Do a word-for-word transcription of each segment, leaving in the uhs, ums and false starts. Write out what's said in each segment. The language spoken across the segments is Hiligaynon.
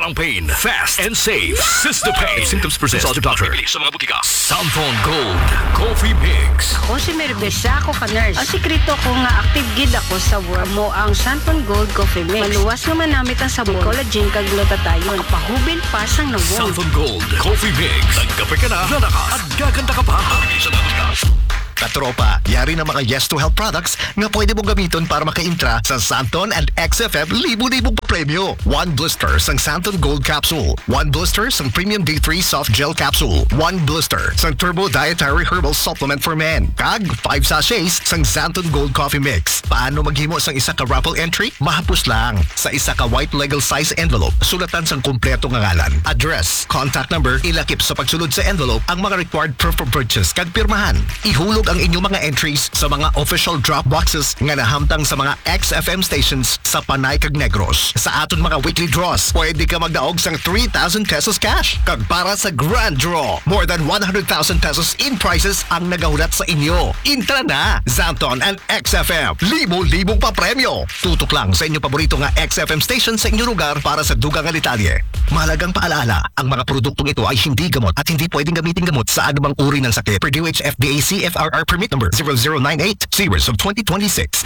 Ang pain, fast and safe. Sister Pain. If symptoms persist, consult a doctor. Sa mga butika. Santon Gold Coffee Mix. Ako si Mary Beth, isa ako ka nurse. Ang sikreto ko nga active gid ako sa work mo ang Santon Gold Coffee Mix. Maluwas nga manamit ang sabon, collagen kag glutathione. Ang pahubil pa sang nawong. Santon Gold Coffee Mix. Nagkape ka na, lalakas at gaganda ka pa. Sa mga butika. Katropa, yari na mga Yes to Help products nga pwede mong gamiton para makaintra sa Santon and X F M libo-libong papremyo. One blister sang Santon Gold Capsule, one blister sang Premium D three Soft Gel Capsule, one blister sang Turbo Dietary Herbal Supplement for Men, kag five sachets sang Santon Gold Coffee Mix. Paano maghimo sang isa ka raffle entry? Mahapos lang. Sa isa ka white legal size envelope, sulatan sang kompleto nga ngalan, address, contact number, ilakip sa pagsulod sa envelope ang mga required proof of purchase kag pirmahan. Ihulog ang inyong mga entries sa mga official drop boxes nga nahamtang sa mga X F M stations sa Panay kag Negros. Sa aton mga weekly draws, pwede ka magdaog sang three thousand pesos cash. Kag para sa grand draw, more than one hundred thousand pesos in prizes ang nagahulat sa inyo. Intra na! Santon and X F M, libo-libong papremyo. Tutok lang sa inyong paborito nga X F M station sa inyong lugar para sa dugang nga detalye. Mahalagang paalaala, ang mga produktong ito ay hindi gamot at hindi pwedeng gamitin gamot sa anumang uri ng sakit. Per D O H F D A C F R R permit number zero zero nine eight series of twenty twenty-six.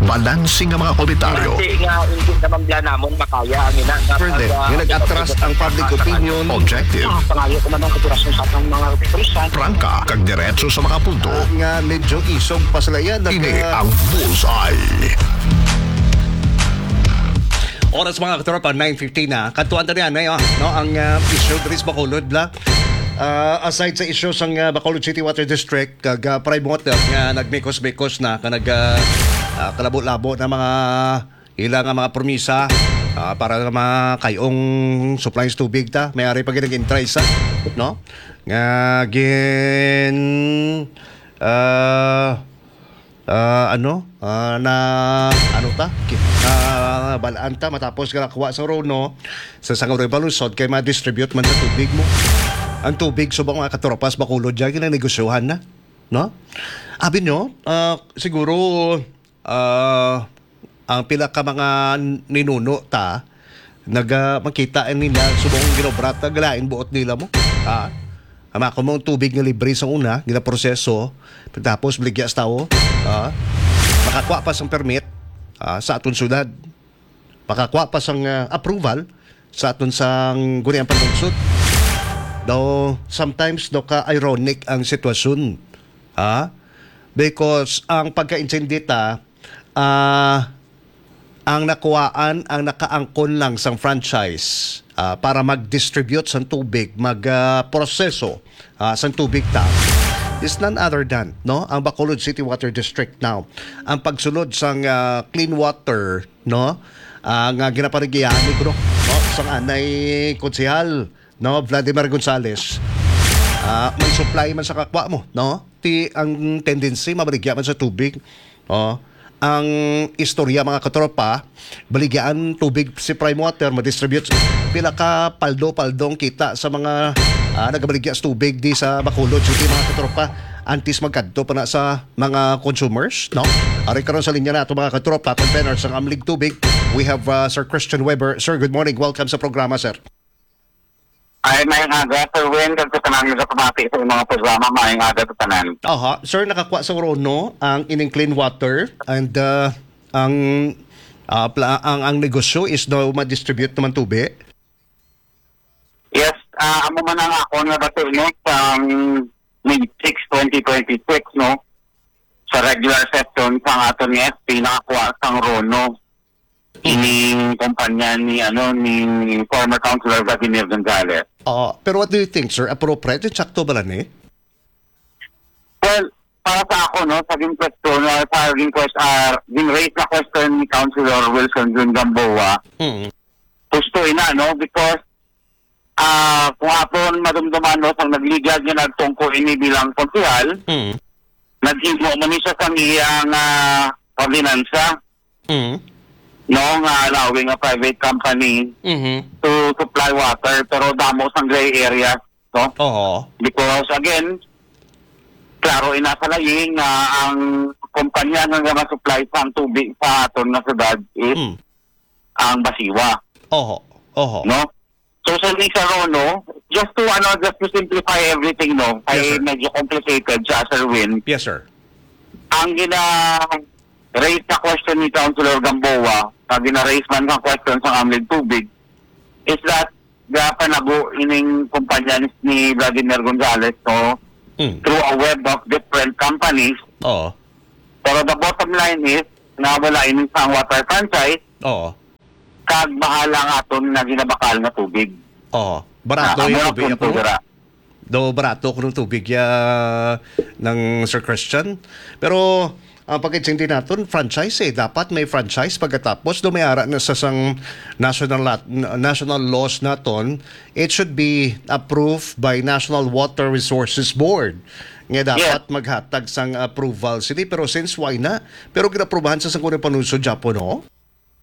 Balanse nga mga komentaryo. Kasi nga, hindi naman bla namon makaya ang ina nga Further, pag, ah, nga nag-atras ang public opinion. Objective. Pangayo ko man ang operasyon sa atong mga opisyal. Prangka, kag diretso sa mga punto. Ah, nga medyo isog pa sila yan. Ini ang Bullseye. Oras, mga katropa, nine fifteen na. Kadtuan ta niyan, eh, oh, no? Ang, ah, issue diri sa Bacolod, bla. Ah, aside sa issue sang, ah, Bacolod City Water District, kag, ah, Prime Water nga nagmikos-mikos na, ka nag, ah, ah, kalabo-labo na mga ila nga mga promisa, ah, para sa mga kayong supplies tubig ta, may ari pa gid nag-intry sa, no? Nga gin, ah, ah, ano, ah, na, ano ta? Ki-, ah, balaan ta matapos nga nakuha sa Rono sa Sangaw Revolution kay ma-distribute man sa tubig mo. Ang tubig subong mga katropas, Bacolod, dyan, ginanegosyohan na, no? Abi nyo, ah, siguro, ah, ang pila ka mga ninuno ta, naga-, makita nila subong ginobrat, nagalain buot nila mo. Ah, ang mga kumong tubig nga libre sa una, ginaproseso, tapos baligya sa tao, ah, makakuha pa sang permit, ah, sa aton syudad. Makakuha pa sang, ah, approval sa aton sang guniang panlungsod. Daw, sometimes, daw ka-ironic ang sitwasyon. Ha? Because ang pagka-intindi ta, ah, ang nakuhaan, ang nakaangkon lang sang franchise, ah, para mag-distribute sang tubig, mag, ah, proseso, ah, sang tubig ta, is none other than, no, ang Bacolod City Water District now. Ang pagsulod sang, ah, clean water, no, ah, nga ginapaligyahan ni, kuno, no, sang anay konsehal, no, Vladimir Gonzales, ah, may supply man sa kakwa mo, no? Ti ang tendency, mabaligya man sa tubig. Oh, ang istorya, mga katropa, baligyaan tubig si Prime Water, ma-distribute pila ka paldo-paldong kita sa mga, ah, nagabaligya sa tubig di sa Bacolod City, mga katropa, antes magkadto pa na sa mga consumers, no? Ari karon sa linya na ato, mga katropa, convener sang Amlig Tubig. We have, ah, Sir Christian Weber. Sir, good morning. Welcome sa programa, sir. Ay, maayong aga, Sir Wen, kag sa tanan nga kapamati sa mga programa, maayong aga sa tanan. Aha. Sir, nakakuha sa Rono ang ining clean water and, uh, ang, uh, pla-, ang, ang negosyo is daw ma-distribute naman tubi? Yes, ah, amo man ang akon nga bati, no, sa May six, twenty twenty-six, no, sa regular session sa aton nga S P, nakakuha sang Rono ining kumpanya ni, ano, ni former Councilor Vladimir Gonzales. Oo, pero what do you think, sir? Appropriate? Sakto ba lang ni? Well, para sa ako, no, sa gin question, ah, sa gin quest-, ah, gin raise na question ni Councilor Wilson Jun Gamboa, Mm. gusto ina, no, because, ah, kung aton madumduman, no, sang nagligad nga nagtungko ini bilang konsehal, Mm. naghimo man ni siya sang iyang, ah, ordinansa, Mm. no, nga allowing a private company Mhm. to supply water, pero damo sang gray areas, no? Oo. Because again, klaro ina sa layi nga ang kumpanya nga ma-supply sa ang tubig sa aton nga syudad is Mm. ang Basiwa. Oho. Oho. No? So, sa ni Sir Rono, just to, ano, just to simplify everything, no? Yes, Kay sir. medyo complicated siya, Sir Win. Yes, sir. Ang gina-raise na question ni Councilor Gamboa, na gina-raise man nga question sa Amlig Tubig, is that the panago ining kumpanya ni, ni Vladimir Gonzalez, no? Mm. Through a web of different companies. Oo. Pero the bottom line is, na wala ini sang water franchise, Oo. kag bahala ang aton nga ginabakal nga tubig. Oo. Barato Na, yung amo ang tubig punto ako, no? dira. Do barato ko ng tubig ya ng Sir Christian. Pero ang pagkaintindi naton, franchise eh. Dapat may franchise pagkatapos do may ara na sa sang national lat-, national laws naton, it should be approved by National Water Resources Board. Nga dapat Yes. maghatag sang approval sini. Pero since why na? Pero ginaprubahan sa sang kunang panuso, Japo, no?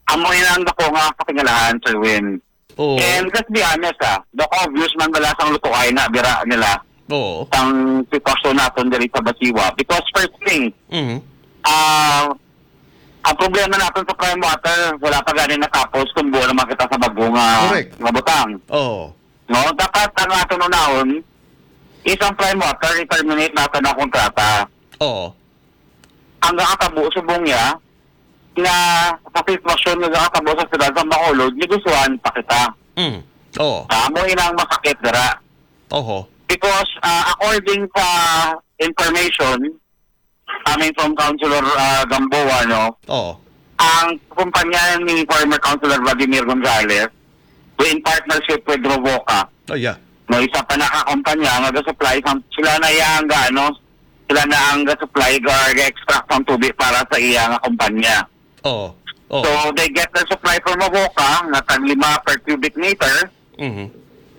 Amo ina ang dako nga katingalahan, Sir Win. Oo. And let's be honest, ah, the obvious man bala sang lutuay na bira nila Oo. sang sitwasyon naton diri sa Basiwa. Because first thing, Mhm. ah, ang problema naton sa prime water, wala pa gani natapos kung buo naman kita sa bago nga, Correct. nga butang. Oo. No? Dapat ang aton unahon is ang prime water, i-terminate naton ang kontrata. Oo. Ang nakatabo subong niya, nga sa sitwasyon nga nakatabo sa siyudad sa Bacolod, negosyohan pa kita. Mm. Oo. Amo ina ang masakit dira. Oho. Because, ah, according sa information coming from Councilor, ah, Gamboa, no, Oo. ang kumpanya ni former Councilor Vladimir Gonzalez, in partnership with Rovoca, Oh, yeah. no, isa pa na ka kumpanya nga ga-supply sang, sila na yang ga-, ano, sila na ang ga-supply or ga-extract sang tubig para sa iya nga kumpanya. Oo. Oo. So, they get the supply from Rovoca nga tag lima per cubic meter, Mhm.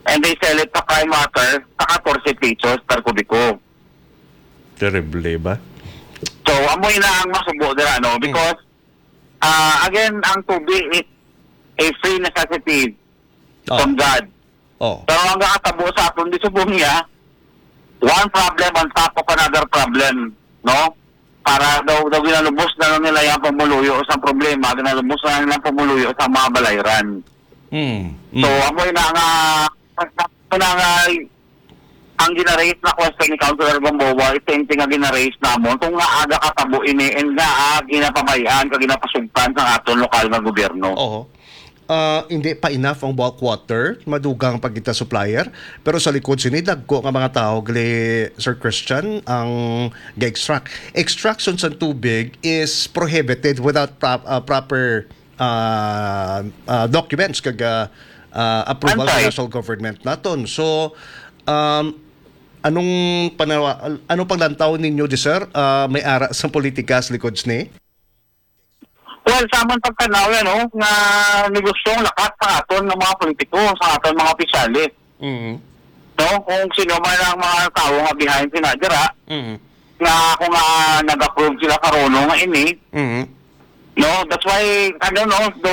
and they sell it sa Prime Water sa katorse pesos per kubiko. Terrible ba? So, amo na ang masubo dira, no? Mm. Because, ah, again, ang tubig is a free necessity Oh. from God. Oh. Pero ang nakatabo sa aton, di subong niya, one problem on top of another problem, no? Para daw, daw ginalubos na lang nila yung pamuluyo sa problema, ginalubos na lang nilang pamuluyo sa mga balayran. Mm. So, Mm. amo na nga, amo na nga, ang ginaraise na question ni Councilor Gamboa, is same thing nga ginaraise namon, kung nga aga katabo ini, and nga, ah, ginapabayaan, kag ginapasugtan sa aton lokal nga gobyerno. Oo. Ah, hindi pa enough ang bulk water, madugang pa kita supplier, pero sa likod sini, dagko nga mga tao gali, Sir Christian, ang ga-extract. Extraction sa tubig is prohibited without prop-, ah, proper, ah, ah, documents kag, ah, ah, approval sa Antay. national government naton. So, um, anong panawa-, anong paglantaw ninyo di, sir? Ah, may ara sa politika sa likod sini? Well, sa amon pagtanaw yan, no, nga negosyong lakat sa aton nga mga politiko, sa aton mga opisyalis. Mhm. No, kung sino man ang mga tawo nga behind sina dira, Mhm. nga ako nga nag-approve sila karon nga ini, Mhm. no, that's why, ano, no, do,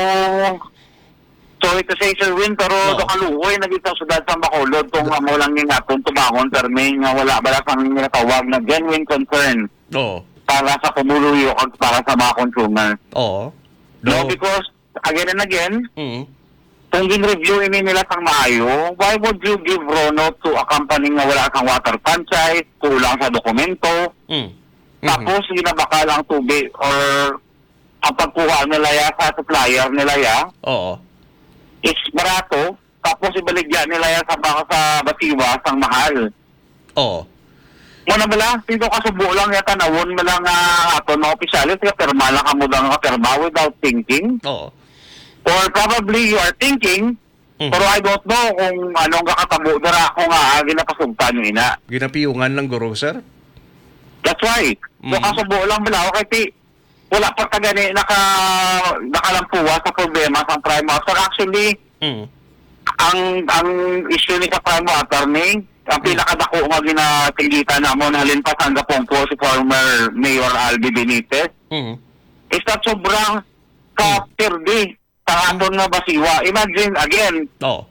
sorry to say, Sir Win, pero No. do kaluoy na gid sa syudad sa Bacolod kung amo lang yung aton tubangon, permi nga wala bala sang ginatawag na genuine concern Oo. para sa pumuluyo kag para sa mga consumer. Oo. No, No. because, again and again, Mm. kung gin-review ini nila sang maayo, why would you give Rono to a company nga wala sang water franchise, kulang sa dokumento, Mm. Mhm. tapos ginabakal ang tubig or ang pagkuha nila ya sa supplier nila ya Oo. is barato, tapos ibaligya nila ya sa baka sa Basiwa sang mahal. Oo. Mo na bala, sino kasubo lang ya tanawon mo lang nga aton mga opisyalis nga pirma lang kamo lang nga pirma without thinking? Oo. Or probably you are thinking, Mhm. pero I don't know kung anong kakatabo dira ako nga, ah, ginapasugtan nyo ina. Ginapiyungan lang guro, sir? That's why. So, Mhm. kasubo lang bala, okay, ti, wala pa ta gani naka-, nakalampuwa sa problema sang prime water. Actually, Mm. ang, ang issue ni sa prime water ni, ang Mm. pinakadako nga ginasinggitan namon halin pa sang gapungko si former Mayor Albi Benitez, Mm. is that sobra ka Mm. pirdi sa aton nga Basiwa. Imagine, again, Oh.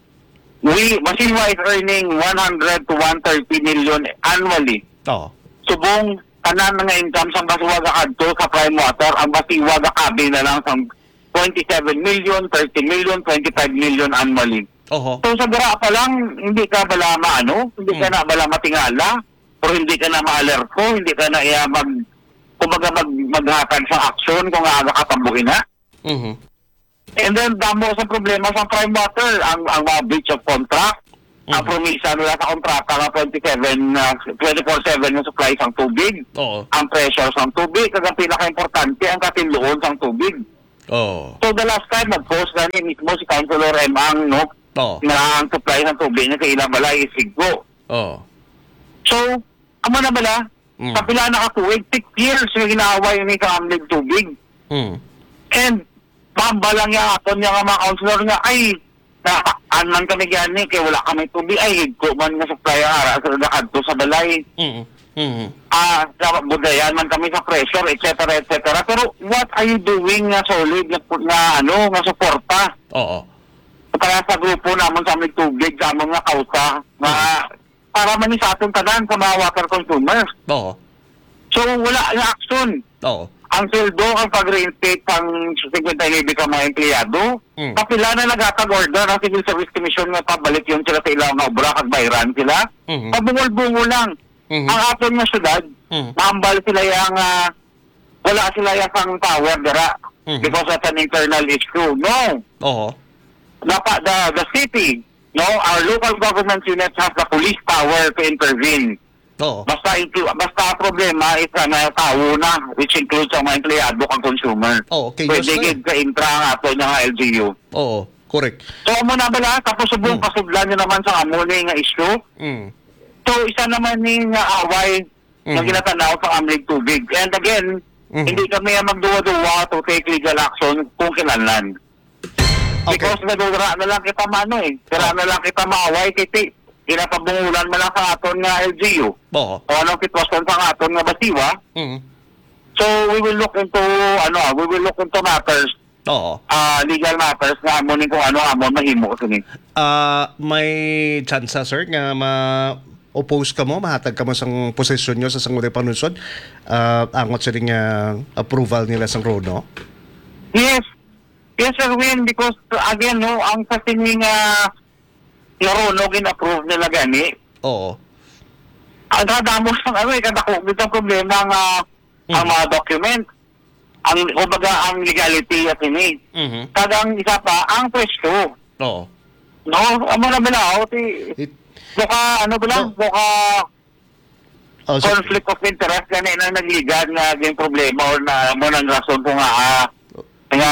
we, Basiwa is earning one hundred to one thirty million annually. Oh. Subong, tanan nga income sang Basiwa gakadto sa prime water, ang Basiwa gakabi na lang sang, twenty-seven million, thirty million, twenty-five million annually. Oho. So, sa dira pa lang, hindi ka bala maano, hindi ka Mm. na bala matingala, o hindi ka na maalerto, hindi ka na iya mag, kumbaga mag, maghatag sa aksyon kung aga ka pabuhi na. Mhm. And then, damo sa problema sa prime water, ang, ang mga breach of contract, ang Mhm. promisa nila sa kontrata nga twenty-seven, ah, twenty-four seven nga supply sang tubig, Oo. ang pressure sang tubig, kag ang pinaka-importante, ang katinluon sang tubig. Oo. So, the last time, nag-post na ni mismo si Councilor M. Ang, no, Oo. na ang supply ng tubig na sa ilang balay is higko. Oo. So, amo na bala, Mm. sa pila na ka tuig, six years yung ginaaway ni sa amlig tubig. Mm. And, mahambal lang niya aton niya nga mga councilor nga, "Ay, natakpan man kami gani, kay wala kami tubig. Ay, higko man nga supply ang ara sa nakadto sa balay." Mm. Mm. Ah, sa budayan man kami sa pressure, et cetera, et cetera. Pero what are you doing nga solid nga, nga, ano, nga suporta? Oo. Para sa grupo namon sa amig tubig, sa amon nga kausa, nga Mm. para man ni sa aton tanan sa mga water consumers. Oo. So, wala nga aksyon. Oo. Ang sweldo, ang pag-reinstate sang fifty-nine ka mga empleyado, Mm. kapila na naghatag order ang Civil Service Commission nga pabalik yun sila sa ilang nga obra kag bayran sila. Mhm. Pabungol-bungol lang. Mhm. Ang aton nga syudad, Mhm. mahambal sila yang, ah, wala sila yang sang power dira Mhm. because of an internal issue. No. Oo. Dapat the, the city, no, our local government units has the police power to intervene. Oo. Basta inclu-, basta ang problema is ang, ah, tawo na, which includes ang mga empleyado kag consumer. Oo, chaos Pwede na eh. gid ka intra ang ato nga L G U. Oo, correct. So, amo na bala, tapos subong Hmm. pasudlan nyo naman sa amo ni nga issue. Mm. So, isa naman ni nga away nga Mhm. ginatanaw sa amlig tubig. And again, Mhm. hindi kami ang magduwa-duwa to take legal action kung kinahanglan. Okay. Because nadura na lang kita mano eh. Dira Oh. na lang kita maaway kay ti-, ginapabungulan man lang sa aton nga L G U. Oo. O anong sitwasyon sa aton nga Basiwa? Mm. So, we will look into, ano, ah, we will look into matters, Oo. ah, legal matters nga amo ni kung ano amo mahimo sini. Ah, may tsansa, sir, nga ma-oppose kamo, mahatag kamo sang posisyon nyo sa Sangguniang Panlungsod, ah, angot sa ning, ah, approval nila sang RONO? Yes. Yes, Sir Win, because again, no, ang sa sini nga RONO gin-approve nila gani, Oo. ang kadamo sang ano, eh, kadako gid ang problema nga ang Mm. mga document, ang, kumbaga, ang legality at ini. Mhm. Kag ang isa pa, ang presyo. Oo. No? Amo na bala, oh, ti-, It- buka, ano bala, No. buka Oh, so conflict of interest gani nang nagligad nga naging problema or na mo nang rason ko nga, ah, nga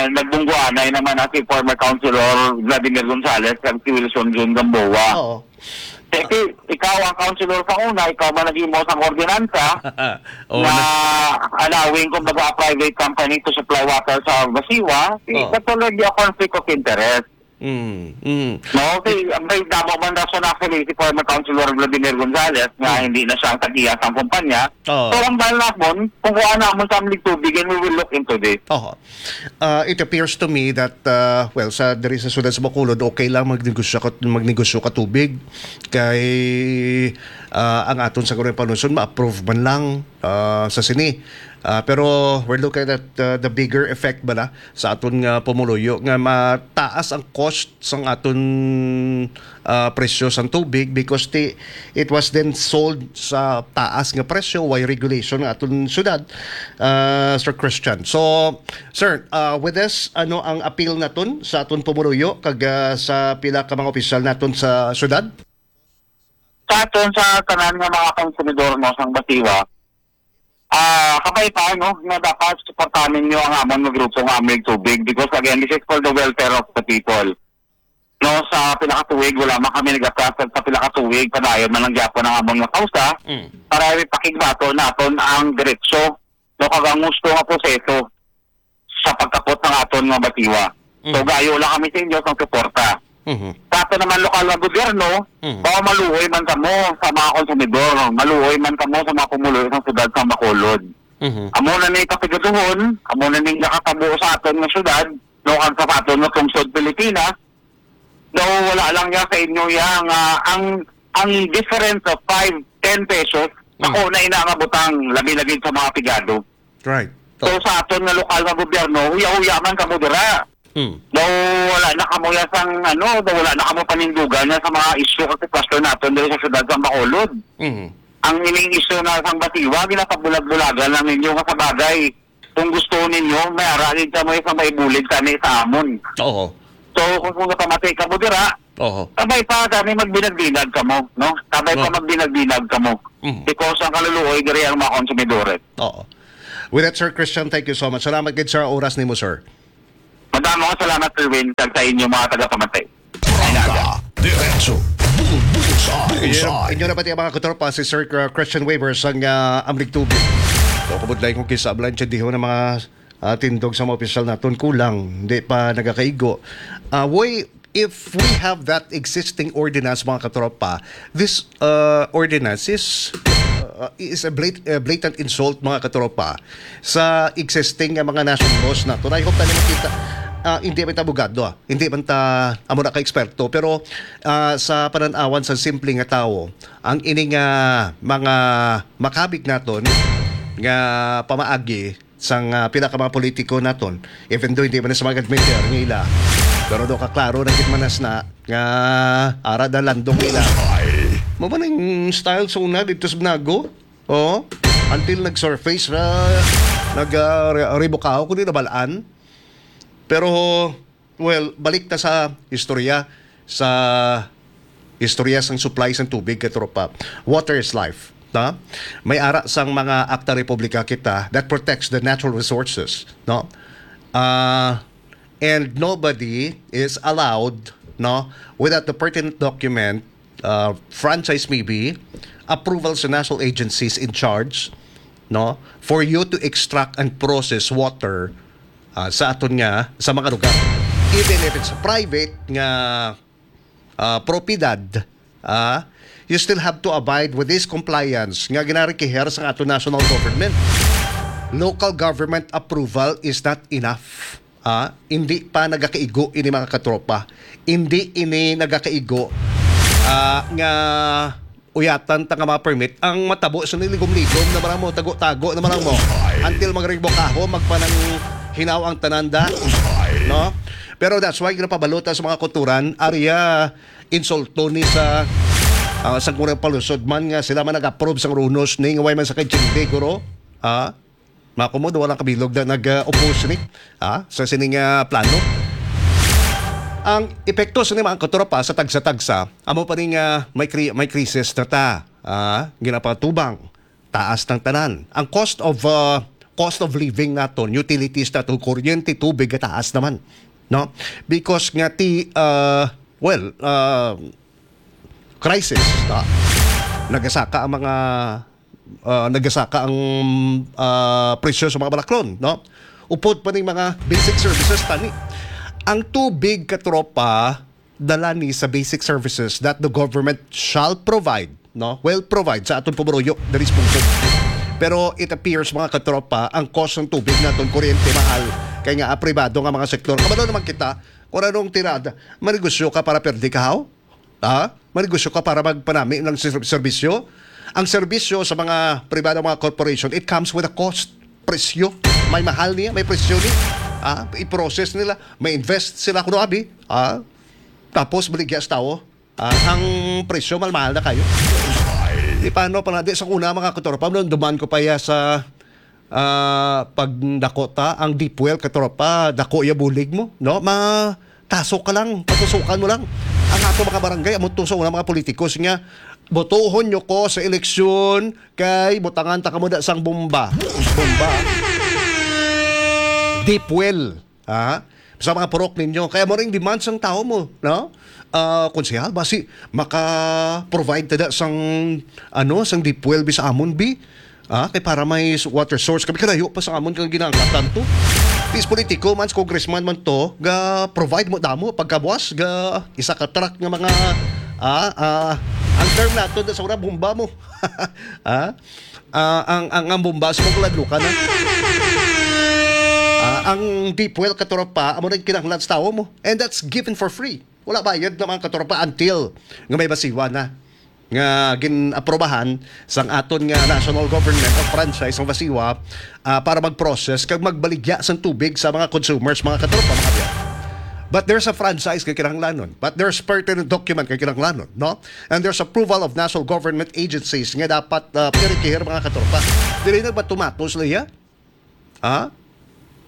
nagbungguanay naman na si former Councilor Vladimir Gonzales kag si Wilson Jun Gamboa. Oo. Kasi ikaw ang councilor sa una, ikaw man naghimo sang ordinansa Oo, na na- allowing, kumbaga, a private company to supply water sa Basiwa, si-, Oo. that's already a conflict of interest. Mm, mm. No, kay may damo man rason actually si former Councilor Vladimir Gonzales nga Hmm. hindi na siya ang tag-iya sang kumpanya. Oo. So, ang dahil namon, kung kuha namon sa aming tubig, and we will look into this. Oo. Uh, it appears to me that, uh, well, sa diri sa siyudad sa Bacolod, okay lang magnegosyo ka, magnegosyo ka tubig. Kay, uh, ang aton sa Sangguniang Panlungsod, ma-approve man lang, uh, sa sini. Uh, pero we're looking at, uh, the bigger effect bala sa aton nga pumuluyo nga mataas ang cost sang aton, ah, presyo sang tubig because ti-, it was then sold sa taas nga presyo, way regulation nga aton syudad, ah, Sir Christian. So, sir, ah, with this, ano ang appeal naton sa aton pumuluyo kag, ah, sa pila ka mga opisyal naton sa syudad? Sa aton, sa tanan nga mga konsumidor, no, sang Basiwa, ah, kabay pa, no, nga dapat suportahan ninyo ang amon nga grupo nga Amig Tubig because, again, this is for the welfare of the people. No, sa pila ka tuig, wala man kami nag-atras, sa pila ka tuig, padayon man lang gyapon ang amon nga kausa Mm. para ipakigbato naton ang diretso, no, kag ang gusto nga proseso sa pagkapot sang aton nga Basiwa. So, Mm. gayo lang kami sa inyo sang suporta. Mhm. Sa aton naman lokal nga gobyerno, Mhm. baka maluoy man kamo sa mga konsumidor, maluoy man kamo sa mga pumuluyo sang syudad sang Bacolod. Mhm. Amo na ni kapigaduhon, amo na ni nakatabo sa aton nga syudad, no, kag sa aton nga pungsod Pilipinas, daw wala lang ya sa inyo ya nga ang, ang difference of five, ten pesos, Mm. ako na ina nga butang, labi na gid sa mga pigado. Right. So, sa aton nga lokal nga gobyerno, huya-huya man kamo dira. Mm. Daw wala na kamo ya sang, ano, daw wala na kamo panindugan na sa mga isyu kag sitwasyon naton diri sa siyudad sa Bacolod. Mm. Ang ining isyu na sang Basiwa, ginapabulag-bulagan lang ninyo nga sa bagay. Kung gusto ninyo, may ara gid kamo sa may bulig kami sa amon. Oo. So, kung, kung napamati kamo dira, Oo. Sabay pa kami magbinag-binag kamo, no? Sabay pa Oo. magbinag-binag kamo. Mhm. Because ang kaluluoy diri ang mga konsumidores. Oo. With that, Sir Christian, thank you so much. Salamat gid sa oras nimo, sir. Madamo nga salamat, Sir Win, kag sa inyo mga tagapamati. Prangka, diretso, bulbusa, Inyo, busa. Inyo na pati ang mga katropa, si Sir, uh, Christian Weaver sang, uh, Amlig Tubig. So, kabudlay kung kisa ablan siya diho ng mga, uh, tindog sa mga opisyal naton kulang, hindi pa nagakaigo. Uh, woy, if we have that existing ordinance, mga katropa, this, uh, ordinance is, uh, is a blat-, a blatant insult, mga katropa, sa existing nga mga national laws naton. I hope na makita, uh, hindi man ta abogado, ah. Hindi man ta amo na ka eksperto, pero, uh, sa pananawan sa simple nga tawo, ang ini nga mga makabig naton nga pamaagi sang, ah, pila ka mga politiko naton, even though hindi man na sa mag-admit nga ila, pero do kaklaro na gid manas na nga ara na landong nila. Ay. Mao man ang style sa una dito sa Banago. Oh, until nag-surface ra, nag, ah, re-, rebokaho kundi nabalaan. Pero, well, balik ta sa istorya, sa istorya sang supply sang tubig, katropa. Water is life, no? May ara sang mga Akta Republika kita that protects the natural resources, no? Ah, and nobody is allowed, no, without the pertinent document, uh, franchise maybe, approval sa national agencies in charge, no, for you to extract and process water, ah, sa aton nga, sa mga lugar. Even if it's private nga, ah, propiedad, ah, you still have to abide with this compliance nga ginarikiher sa aton national government. Local government approval is not enough. Ah, hindi pa nagakaigo ini, mga katropa. Hindi ini nagakaigo, ah, nga uyatan ta nga mga permit. Ang matabo sa niligom-ligom na marang mo, tago-tago na marang mo. Ay. Until magribokaho, magpananghinaw ang tanan da. Ay. No? Pero that's why ginapabalota sa mga kulturan, area insulto ni sa, ah, sa kurang palusod man nga sila man nag-approve sang runos ni nga way man sa kay Jingde, guro. Ah? Makumod, wala kabilog na nag-oppose ni, ah, sa sining, ah, plano. Ang epekto sa mga katropa sa tagsa-tagsa, amo pa ni nga may kri-, may krisis na ta, ah, ginapatubang, taas ng tanan. Ang cost of, ah, cost of living naton, utilities naton, kuryente, tubig, taas naman, no? Because nga ti, ah, well, ah, crisis, no? Nagasaka ang mga, ah, nagasaka ang, ah, presyo sa mga balaklon, no? Upod pa ning mga basic services tani. Ang tubig, katropa, dala ni sa basic services that the government shall provide, no? Will provide sa aton pumuluyo diri sa pungsod. Pero it appears, mga katropa, ang cost ng tubig naton, kuryente, mahal. Kay nga, ah, pribado nga mga sektor. Kabalo naman kita, kung anong tirada, manegosyo ka para perdi ka, haw? Ha? Manegosyo ka para magpanami ng ser-, serbisyo? Ang serbisyo sa mga pribado, mga corporation, it comes with a cost. Presyo. May mahal niya, may presyo niya. Ah, i-process nila, may invest sila kuno abi. Ah, tapos baligya sa tawo. Ah, ang presyo mal mahal na kayo. Di paano pa na, di sa una, mga katropa, nung duman ko pa ya sa, ah, pagdako ta, ang deep well, katropa, dako ya bulig mo, no? Ma-, taso ka lang, patusukan mo lang. Ang ato mga barangay, amo to sa una mga politikos nga, "Botohon nyo ko sa eleksyon, kay butangan ta kamo da sang bomba." Bomba. Deep well. Ha? Sa mga purok ninyo. Kaya mo ring demand sang tao mo, no? Ah, konsehal, basi maka-provide tada sang, ano, sang deep well bi sa amon, bi? Ah, kay para may s-, water source. Kami kalayo pa sa amon kang ginaangkatan to. Is politiko man, congressman man to, ga provide mo damo, pagkabuas, ga isa ka truck nga mga, ah, ah, ang term nato na sa una, bomba mo. Ah? Ah, ang, ang, ang bomba, sa mga ladlukan, ah. Ah, ang deep well, katropa, amo na yung kinahanglan sa tao mo. And that's given for free. Wala bayad na, mga katropa, until nga may Basiwa na. nga gin-aprobahan sang aton nga national government ang franchise sang VASIWA, ah, para mag-process kag magbaligya sang tubig sa mga consumers, mga katropa, mga kabyan. But there's a franchise nga kinahanglanon. But there's pertinent document nga kinahanglanon, no? And there's approval of national government agencies nga dapat, ah, pirikihir, mga katropa. Dili nagbato-mato sila iya. Ha?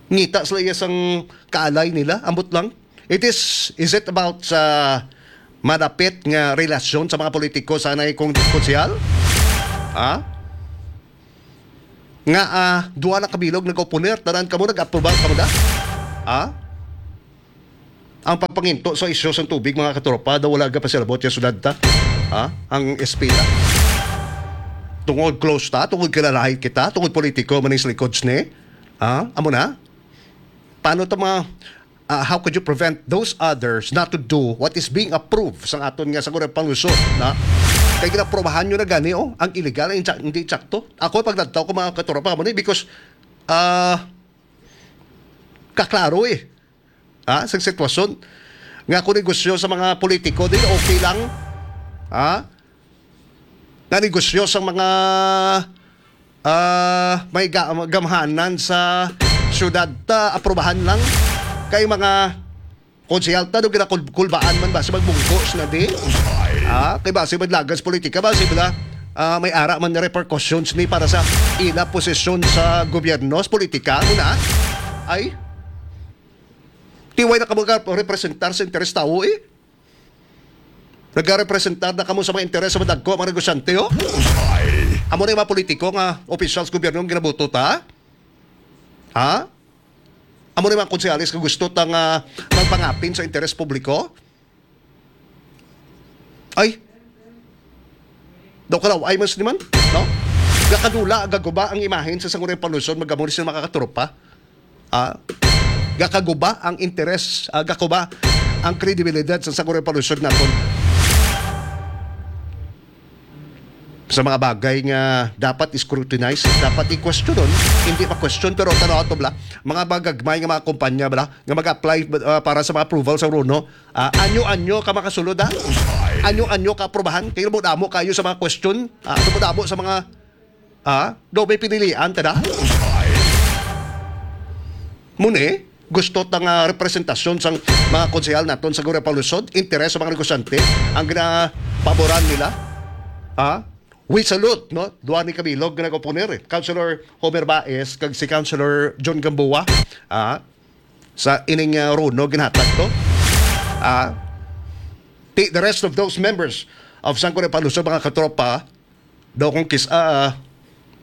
Ngita sila iya sang kaalay nila, ambot lang. It is, is it about sa madapit nga relasyon sa mga politiko sa anay kong konsehal? Ha? Nga, ah, duha na kabilog nag-oponer, tanan kamo nag-aprobar kamo da? Ha? Ang pagpanginto sa isyu sang tubig, mga katropa, daw wala gapasilabot sa syudad ta. Ha? Ang S P ta. Tungod close ta, tungod kilalahi kita, tungod politiko man ang sa likod sini. Ha? Amo na? Paano ta mga, ah, how could you prevent those others not to do what is being approved sa aton nga sa Sangguniang Panlungsod, na? Kay ginaprobahan nyo na gani, oh, ang illegal, ang insa-, hindi insakto. Ako, pag nagtaw ko, mga katropa, mo ni, because, ah, kaklaro eh. Ha? Sa sitwasyon nga kung negosyo sa mga politiko, di okay lang. Ha? Nga negosyo sa mga, ah, may ga-, gamhanan sa syudad ta, aprobahan lang. Kay mga konsehal ta, do ginakulbaan man ba si magbungko na di? Ha? Kay ba si maglagas politika ba? Si bala, ah, may ara man repercussions ni para sa ila posisyon sa gobyerno, sa politika, muna? Ay? Tiway na kamo ka representar sa interes tao eh. Nagarepresentar na kamo sa mga interes sa madagko, mga negosyante, oh. Amo na yung mga politiko nga officials gobyerno ang ginabuto ta? Ha? Amo na yung mga konsehales nga gusto ta nga magpangapin sa interes publiko? Ay, daw kalaw, ay mas naman, no? Gakadula, gaguba ang imahen sa Sangguniang Panlungsod, magamo ni sila makakatropa. Ah, gakaguba ang interes, ah, gakuba ang kredibilidad sa Sangguniang Panlungsod naton. Sa mga bagay nga dapat i-scrutinize, dapat i-questionon, hindi pa question, pero tanaw to bla, mga bagagmay nga mga kumpanya bla, nga mag-apply, ah, para sa mga approval sa RONO, ah, anyo-anyo ka makasulod, ha? Anyo-anyo ka aprobahan, kay mo damo kayo sa mga question, ah, mo damo sa mga, ah, do may pinilian, tada? Muni, gusto ta nga representasyon sang mga konsehal naton sa Sangguniang Panlungsod, interes sa mga negosyante, ang ginapaboran nila, ah, we salute, no? Duha ni kabilog nga nag-oponer, eh. Councilor Homer Baez, kag si Councilor John Gamboa, ah, sa ining, ah, RONO ginhatag to. Ah, ti-, the rest of those members of Sangguniang Panlungsod, mga katropa, daw kung kis-, ah,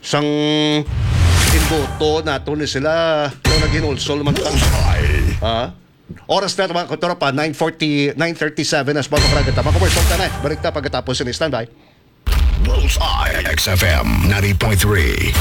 sang ginboto nato ni sila, daw naghinulsol man ta. Ah, oras na, mga katropa, nine forty, nine thirty-seven na sa mga pagkagata. Mga commercial ka na, eh. Balik ta pagkatapos sini. Standby. Bullseye, X F M ninety point three.